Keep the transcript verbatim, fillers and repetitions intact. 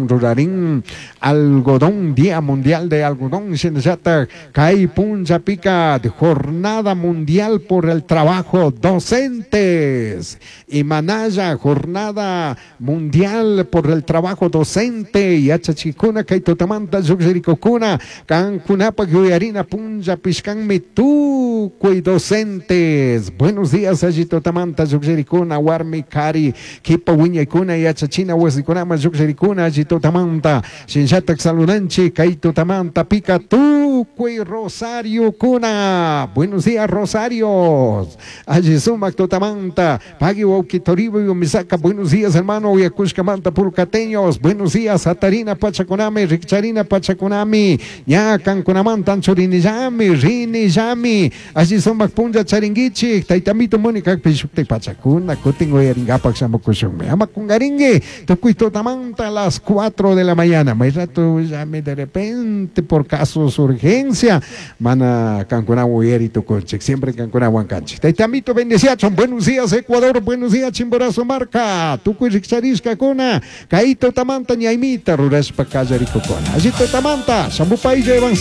Rurarin algodón, Día Mundial de Algodón, shinallatak kay punllapika Jornada Mundial por el Trabajo Docentes imanalla Jornada Mundial por el Trabajo Docente yachachikuna kay tutamanta llukllirikukuna kankunapak yuyarina punllapishkanmi tukuy docentes. Buenos días alli tutamanta llukllirikuna warmi kari kipa wiñaykuna yachachina wasikunaman llukllirikuna alli tutamanta shinallatak saludanchik kay tutamanta pika tukuy Rosario kuna. Buenos días, Rosarios. Alli sumak tutamanta pagui wawki Toribio Misaka. Buenos días, hermano. Uyakushkamanta purkateños. Buenos días, Atarina pachakunami, rikcharina pachakunami, ña kankunamanta anchurinillami, rinillami. Alli sumak punlla charinguichik taytamito Mónica pishuktik pachakuna kutin uyaringapak shamukushunmi. Ama kungaringue tukuy tutamanta a las cuatro de la mañana. May rato llame de repente por casos urgencia mana kankunawan uyari tukunchik siempre kankunawan kanchik. Taytamito bendeciachun. Buenos días, Ecuador. Buenos días, Chimborazo marka. Tukuy rikcharishkakuna kay tutamanta ñaymita rurashpa kallarikukuna. Alli tutamanta shamupaylla.